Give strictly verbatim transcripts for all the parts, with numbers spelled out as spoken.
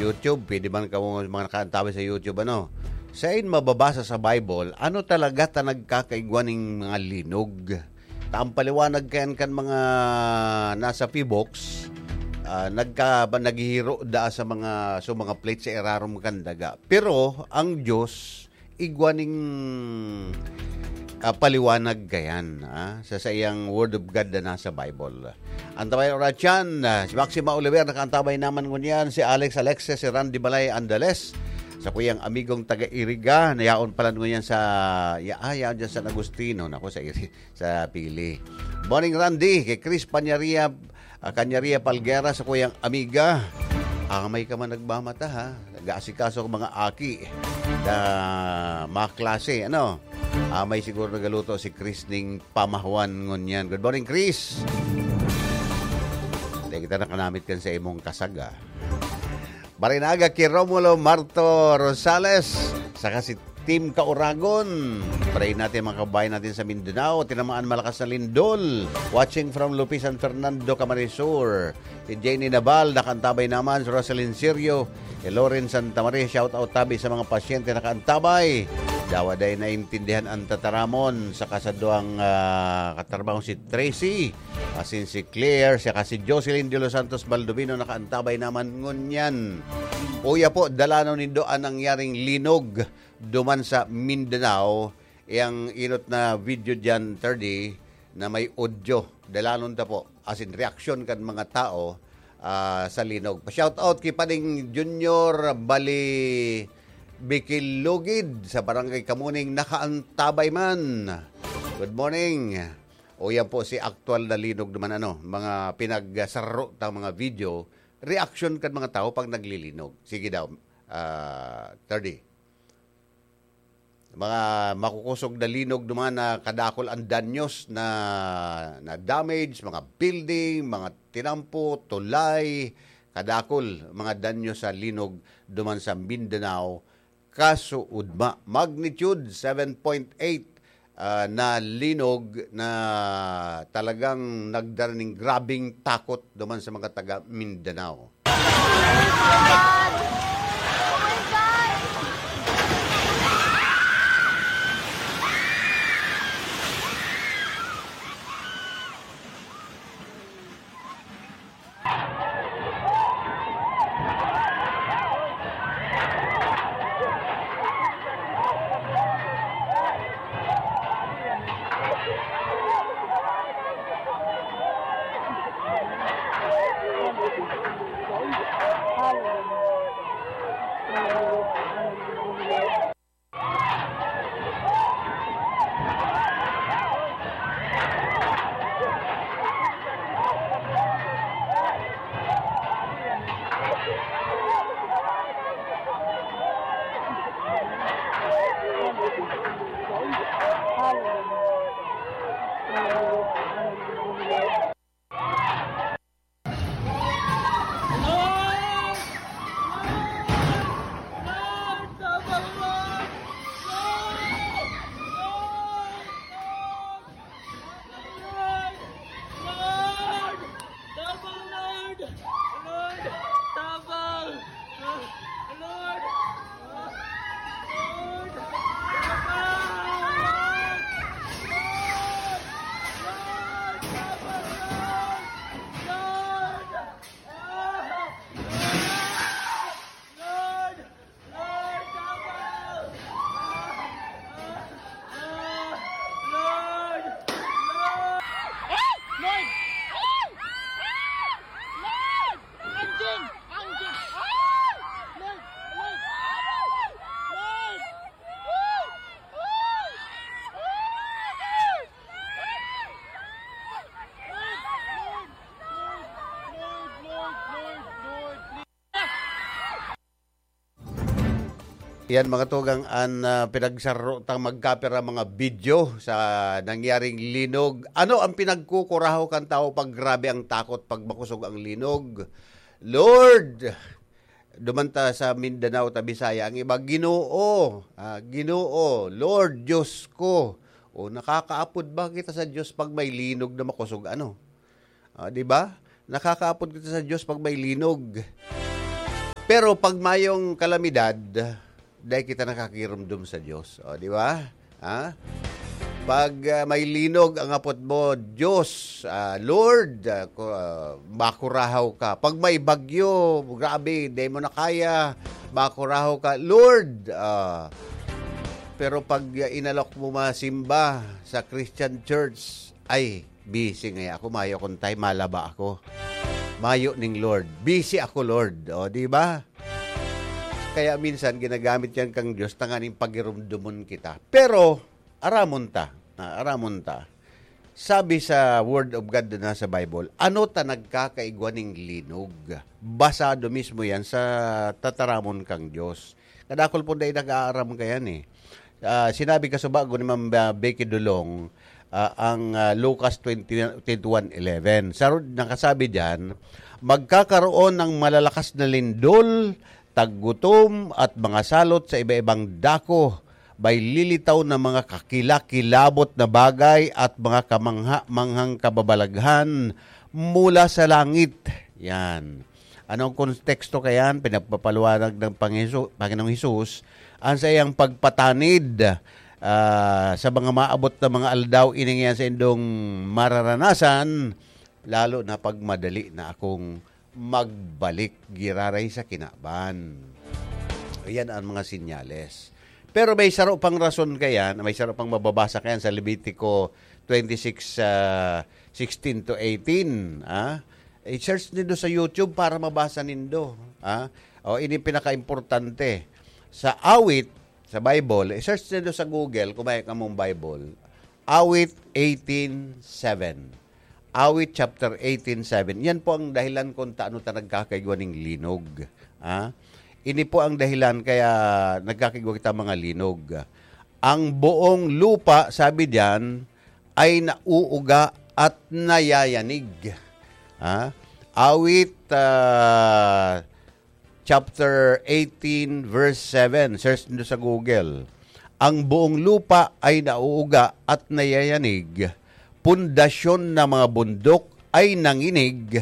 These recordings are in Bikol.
YouTube, pwede man kamo mga nakaantabay sa YouTube, ano? Sain mababasa sa Bible, ano talaga ta nagkakaigwa ning mga linog? Ta ang paliwanag kayan kan mga nasa P box, ah, nagka-, ba, naghihiro da sa mga, so mga plate sa irarom kan daga. Pero ang Diyos, igwa ning, ah, paliwanag kayan, ah, sa saiyang Word of God na nasa Bible. Antabay oras yan, ah, si Maxima Oliver nakaantabay naman ngunyan, si Alex Alexis, si Randy Balay Andales, sa kuyang amigong taga Iriga, na yaon pala ngunyan sa, ya-, ah, yaon dyan sa Agustino, nako, sa Iri-, sa Pili. Morning, Randy, kay Chris Panyaria, ah, Kanyaria Palguera, sa kuyang amiga. Amay ka man nagmamata, ha? Nag-aasikaso ang mga aki na mga klase, ano? Amay siguro nagaluto si Chris ning pamahuan ngunyan. Good morning, Chris! Dahil kita nakanamit kan sa imong kasaga. Marinaga ki Romulo Marto Rosales, saka si Team Kauragon. Pray natin mga kabayan natin sa Mindanao. Tinamaan malakas na lindol. Watching from Lupisan, Fernando Camarisur. Si Jenny Nabal, nakaantabay naman. Si Rosalyn Sirio, si Loren Santa Maria, shout out tabi sa mga pasyente nakaantabay. Dawa day naintindihan ang tataramon sa kasadwang, ah, katrabaho si Tracy. Asin si Claire, siya ka si Jocelyn de los Santos Baldovino, nakaantabay naman ngunyan. Uya po, dalanon nindo ang nangyaring linog duman sa Mindanao. Yang inot na video dyan, thirty, na may audio. Dalanon ta po. As in, reaksyon kan mga tao, ah, sa linog. Pa-shout out kay Pading Junior Bali Bikil Lugid sa Barangay Kamuning, nakaantabay man. Good morning. O yan po si aktual na linog naman, ano, mga pinagsaro tang mga video, reaksyon kan mga tao pag naglilinog. Sige daw, ah, thirty. Mga makukusog na linog naman na kadakol ang danyos na, na damage, mga building, mga tinampo, tulay, kadakol mga danyos sa linog duman sa Mindanao. Kasuodma, magnitude seven point eight, ah, na linog na talagang nagdara ning grabeng takot duman sa mga taga Mindanao. Yan, mga tugang, an, ah, pinagsaro tang magkapira mga video sa nangyaring linog. Ano ang pinagkukuraho kan tao pag grabe ang takot, pag makusog ang linog? Lord, duman ta sa Mindanao, ta Bisaya, ang iba, Ginoo, ah, Ginoo, Lord, Diyos ko. O, nakakaapod ba kita sa Diyos pag may linog na makusog? Ano? Ah, di ba? Nakakaapod kita sa Diyos pag may linog. Pero pag mayong kalamidad, dai kita nakakirumdom sa Dios. O, di ba? Ha? Pag, ah, may linog ang apot mo, "Diyos, ah, Lord, ah, ku-, ah, makurahaw ka." Pag may bagyo, grabe, dai mo na kaya, makurahaw ka, "Lord." Ah, pero pag, ah, inalok mo masimba sa Christian church, ay, busy ngaya ako, mayo akong time, malaba ako. Mayo ning Lord. Busy ako, Lord. O, di ba? Kaya minsan ginagamit yan kang Diyos tanganing pagirumdomon kita. Pero, aramon ta. Ah, aramon ta. Sabi sa Word of God na sa Bible, ano ta nagkakaigwa ning linog? Basado mismo yan sa tataramon kang Diyos. Kadakol po dahil nag-aaram ka yan eh. Ah, sinabi ka sa bago ni Ma'am, ah, Becky Dulong, ah, ang, ah, Lucas twenty, twenty-one eleven. Sa, nakasabi diyan, "Magkakaroon ng malalakas na lindol, taggutom, at mga salot sa iba-ibang dako. May lilitaw na mga kakilakilabot na bagay at mga kamangha-manghang kababalaghan mula sa langit." Yan. Anong konteksto kayan? Pinagpapaliwanag ng Panginoong Hesu-, Panginoong Hesus ang saiyang pagpatanid, ah, sa mga maabot na mga aldaw, ini ngiyan sa indong mararanasan, lalo na pag madali na akong magbalik giraray sa kinaban. Ayan ang mga sinyales. Pero may saro pang rason kayan, may saro pang mababasa kayan sa Levitico twenty-six, ah, sixteen to eighteen, ah. I-search nindo sa YouTube para mabasa nindo, ah. O, ini pinakaimportante. Sa Awit, sa Bible, i-search nindo sa Google kung may kamong Bible, Awit eighteen seven. Awit chapter eighteen seven. Yan po ang dahilan kung taano ta nagkakaigwa ning linog, ah. Ini po ang dahilan kaya nagkakaigwa kita mga linog. Ang buong lupa, sabi diyan, ay nauuga at nayayanig. Ha? Awit, ah, chapter eighteen, verse seven. Search nindo sa Google. "Ang buong lupa ay nauuga at nayayanig. Pundasyon ng mga bundok ay nanginig,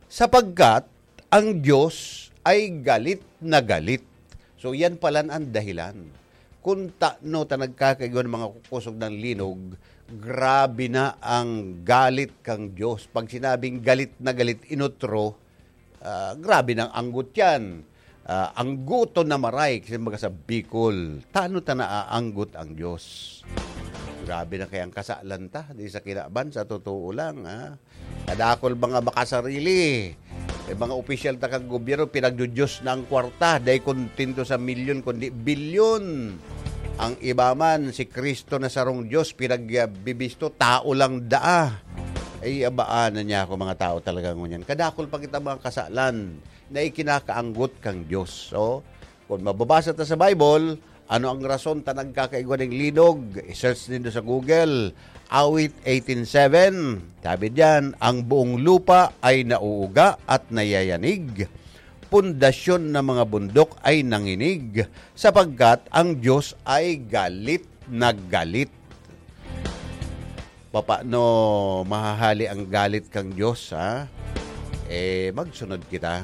sapagkat ang Diyos ay galit na galit." So, yan pala ang dahilan. Kung taano ta nagkakaigwa ng mga kukusog ng linog, grabe na ang galit kang Diyos. Pag sinabing galit na galit, inutro, ah, grabe nang anggot yan. Ah, anggoton na maray, kasi baga sa Bicol, taano ta naaanggot ang Diyos? Grabe na kaya ang kasalan ta, di sa kinaban, sa totoo lang, ha? Kadakol mga makasarili. May mga opisyal ta kang gobyerno, pinagdudiyos na ang kwarta. Dai kontento sa milyon, kundi bilyon. Ang iba man, si Cristo na sarong Diyos, pinagbibisto, tao lang daa. Ay, abaan na niya ako, mga tao talaga ngunyan. Kadakol pa kita mga kasalan na ikinakaanggot kang Diyos. So, kung mababasa ta sa Bible, ano ang rason ta nagkakaigwa ning linog? I-search nindo sa Google, Awit eighteen seven. Sabi diyan, "Ang buong lupa ay nauuga at nayayanig, pundasyon ng mga bundok ay nanginig, sapagkat ang Diyos ay galit na galit." Papaano mahahali ang galit kang Diyos, ha? Eh, magsunod kita.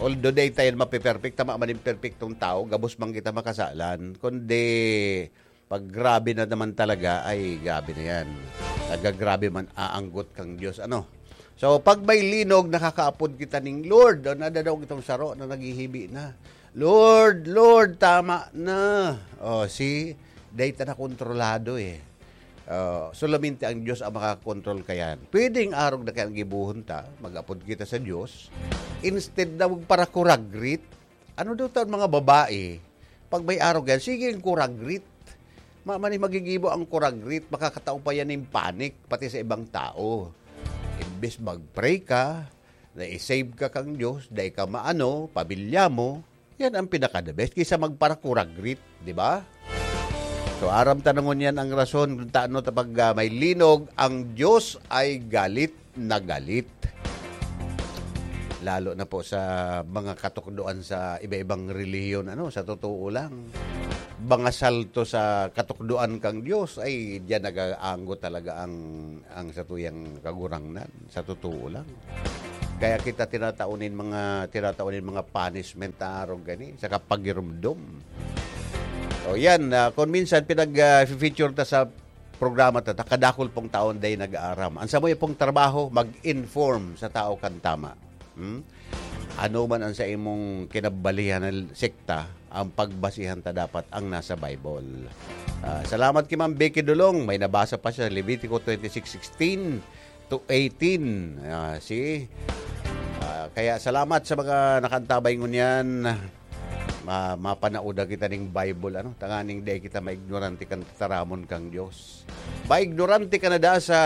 Although dai tayo mapiperpekto, tama man yung perpektong tao, gabos man kita makasalan. Kundi, pag grabe na naman talaga, ay, grabe na yan. Nagagrabe man, aanggot kang Diyos. Ano? So, pag may linog, nakakaapod kita ning Lord. O, nadadaog itong saro na naghihibi na. "Lord, Lord, tama na." O, see? Dai ta na kontrolado eh. Ah, solamente ang Diyos ang makakontrol kayan. Pwedeng arog na kayang gibohon ta, mag-apod kita sa Diyos. Instead na magparakuragrit, ano daw ta mga babae, pag may arog yan, sige ang kuragrit. Ma-, mani magigibo ang kuragrit, makakatao pa yan ng panic, pati sa ibang tao. Imbes mag-pray ka, na i-save ka kang Diyos, dai ka maano, pamilya mo, yan ang pinaka-the best kaysa magparakuragrit, di ba? So, aram ta na ngunyan ang rason kung taano ta pag, ah, may linog, ang Diyos ay galit na galit. Lalo na po sa mga katukdoan sa iba-ibang relihiyon, ano, sa totoo lang. Mga salto sa katukdoan kang Diyos, ay, diyan nag-aanggo talaga ang, ang satuyang Kagurangnan, sa totoo lang. Kaya kita tinatao nin mga, tinatao nin mga punishment na arog gani, sa kapagirumdom. O yan, ah, kung minsan pinag, ah, feature ta sa programa ta, ta, kadakul pong taon day nag-aaram. Ang samuya pong trabaho, mag-inform sa tao kan tama. Hmm? Ano man ang sa imong kinabalihan na sekta, ang pagbasihan ta dapat ang nasa Bible. Ah, salamat kay Ma'am Becky Dulong. May nabasa pa siya, Levitico twenty-six sixteen to eighteen. Ah, see? Ah, kaya salamat sa mga nakantabay ngunyan. Ma-, mapanauda kita ning Bible, ano? Tanganing dai kita maignorante kan tataramon kang Dios. Maignorante ka na da sa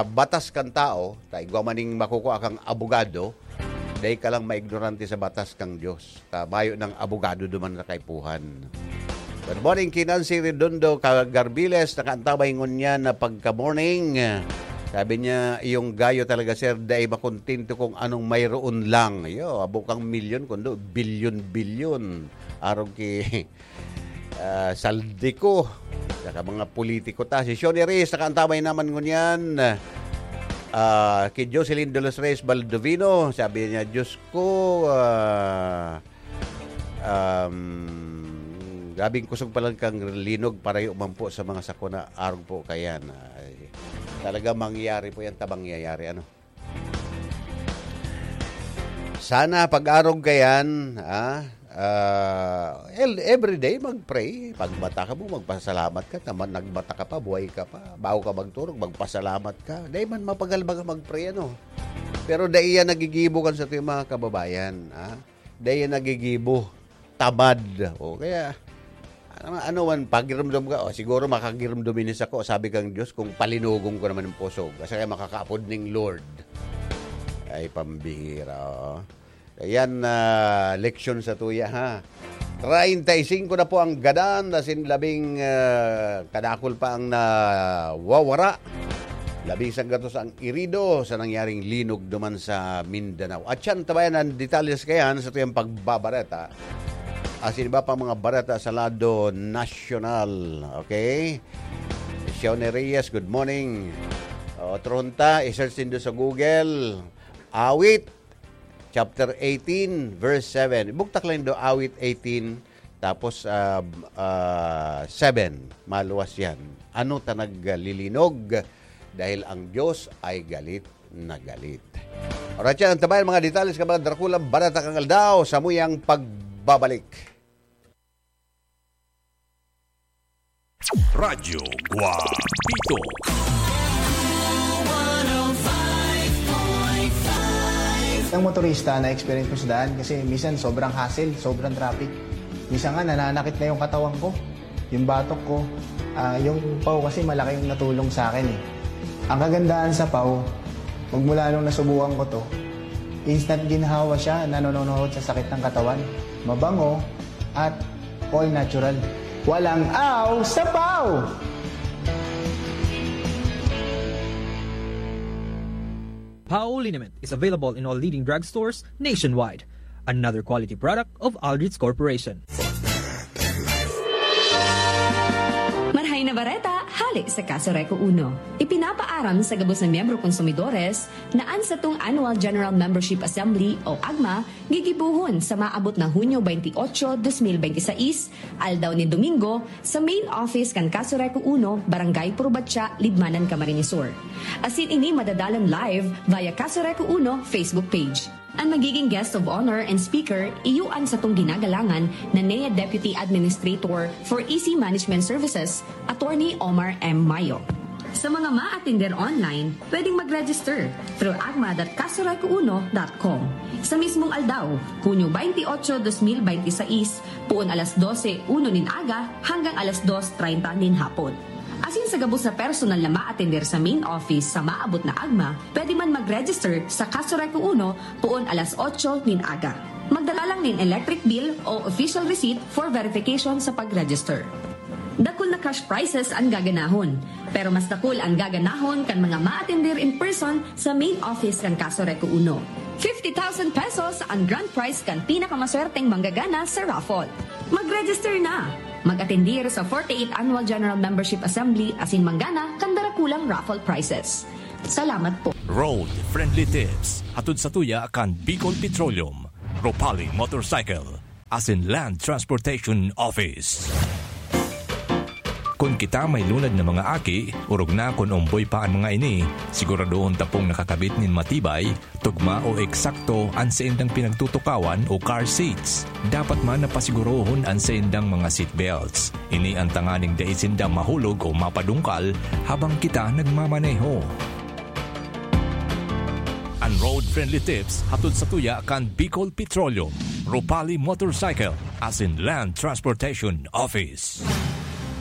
batas kan tao, ta igwa man ning makukua kang abogado, dai ka lang maignorante sa batas kang Dios. Ta mayo nang abogado duman sa kaipuhan. Good morning, Kinan si Redondo, Kagarbiles, nakaantabay ngunyan na pagka-morning. Sabi niya, "Iyong gayo talaga, sir, dai makontento kung anong mayroon lang." Yo, abo kang milyon, kundo bilyon-bilyon. Arog ki, ah, Saldico. Saka mga politiko ta. Si Shoney Reyes, nakaantabay naman ngunyan. Ah, kay Jocelyn de los Reyes Baldovino, sabi niya, "Diyos ko, ah, um, grabing kusog pa lang kang linog, parayo man po sa mga sakuna, arog po kayan." Ay, talaga mangyayari po yan, ta mangyayari, ano? Sana pag-arog ka yan, ah, ah, el-, everyday mag-pray. Pag mata ka mo, magpasalamat ka. Tama, nagmata ka pa, buhay ka pa. Bago ka magturog, magpasalamat ka. Dai man mapagal baga mag-pray, ano? Pero dai yan nagigibo kan sa mga kababayan, ah. Dai yan nagigibo. Tamad. O kaya, ano, ano man, pagirumdom ka, o, siguro makagirumdom ini sako, sabi kang Diyos, kung palinogong ko naman ang pusog, kasi kaya makakaapod ning Lord. Ay, pambihira, o. Ayan, ah, leksyon sa tuya, ha. Treinta y cinco na po ang gadan, asin labing, ah, kadakul pa ang nawawara. Labing sanggatos ang irido sa nangyaring linog duman sa Mindanao. At yan, tabayan ang detalye sa kayan sa tuyang pagbabareta. Asin iba pang mga bareta sa lado nasyonal. Okay? Shoney Reyes, good morning. Otro hunta, i-search nindo sa Google. Awit, chapter eighteen, verse seven. Ibugtak lang do, Awit eighteen, tapos, ah, ah, seven. Maluwas yan. Ano ta naglilinog? Dahil ang Diyos ay galit na galit. Alright, yan ang tabayan, mga detalye sa mga drakulang bareta kan aldaw sa muyang pagbabalik. Radyo Guapito. Ang motorista na experience ko sa daan kasi minsan sobrang hassle, sobrang traffic. Minsan nga nananakit na yung katawan ko, yung batok ko. Ah, yung pau kasi malaki yung natulong sa akin eh. Ang kagandahan sa pau, magmula nung nasubukan ko to, instant ginhawa siya, nanononohod sa sakit ng katawan. Mabango at all natural. Walang aw sa pau! Pau liniment is available in all leading drugstores nationwide. Another quality product of Aldrich Corporation. Marhay na bareta, hale sa Casureco Uno. Ipinapaaram sa gabos na miyembro konsumidores na an satong Annual General Membership Assembly o agma gigibohon sa maabot na Hunyo twenty-eight, twenty twenty-six, aldaw nin Domingo, sa main office kan Casureco Uno, Barangay Purbatya, Libmanan, Camarines Sur. Asin ini madadalan live via Casureco Uno Facebook page. An magiging guest of honor and speaker, iyo an satong ginagalangan na N E A Deputy Administrator for E C Management Services, Attorney Omar M Mayo. Sa mga maatender online, pwedeng mag-register through agma dot casureco uno dot com. Sa mismong aldaw, Hunyo twenty-eight, twenty twenty-six, poon alas dose uno nin aga hanggang alas dos treinta nin hapon. Asin sa gabos na personal na maatender sa main office sa maabot na agma, pwede man mag-register sa Casureco Uno poon alas otso nin aga. Magdala lang nin electric bill o official receipt for verification sa pag-register. Dakul na cash prizes an gaganahon, pero mas dakul an gaganahon kan mga maatender in person sa main office kan Casureco Uno. Fifty thousand pesos an grand prize kan pinakamaswerteng manggagana sa raffle. Mag-register na! Mag-atendir sa forty-eighth Annual General Membership Assembly asin manggana kan darakulang raffle prizes. Salamat po. Road Friendly Tips. Hatod sa tuya kan Bicol Petroleum, Ropali Motorcycle, asin Land Transportation Office. Kun kita may lunad na mga aki, orog na kun omboy pa an mga ini, siguradohon ta pong nakakabit nin matibay, tugma o eksakto an saindang pinagtutukawan o car seats. Dapat man napasigurohon an saindang mga seat belts. Ini an tanganing dai sinda mahulog o mapadungkal habang kita nagmamaneho. An road-friendly tips hatod sa tuya kan Bicol Petroleum, Ropali Motorcycle, asin Land Transportation Office.